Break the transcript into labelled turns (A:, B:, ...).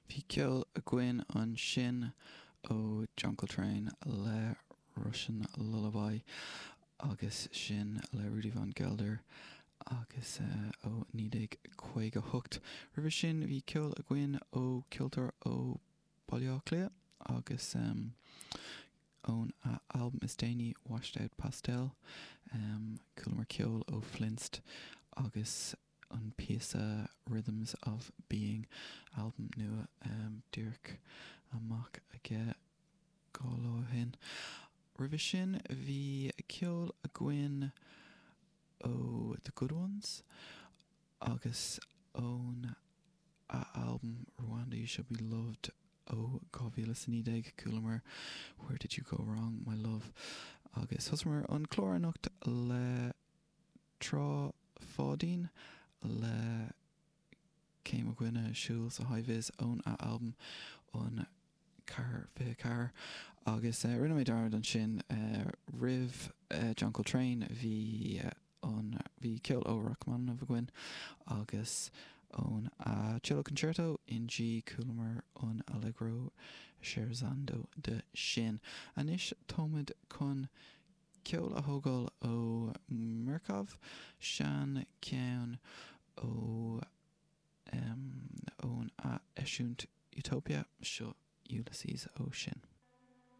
A: Bhí ceol againn ansin ó John Coltrane le Russian Lullaby agus sin le Rudy Van Gelder agus ó 1958. Roimhe sin bhí ceol againn ó ceoltóir ó Baile Átha Cliath agus ón a albam is déanaí Washed Out Pastel. Chualamar ceol ó Flinst agus an píosa Rhythms of Being, albam nua díreach amach aige 2 lá ó shin. Roimhe sin bhí ceol againn ó The Good Ones agus ón a albam Rwanda You Shall Be Loved ó 2019 chualamar Where Did You Go Wrong My Love agus thosaíomar an clár anocht le Trá Pháidín le Cé Mo Dhuine Siúl sa High Vis ón a albam an 4 24 agus rinne mé dearmad ansin roimh John Coltrane bhí an bhí ceol ó Rachmaninoff againn agus ón a Cello Concerto in G chualamar an Allegro Scherzando de sin. Anois táimid chun Ceol a thógáil ó Murcof, sean ceann ó ón a eisiúint Utopia, seo Ulysses ó sin.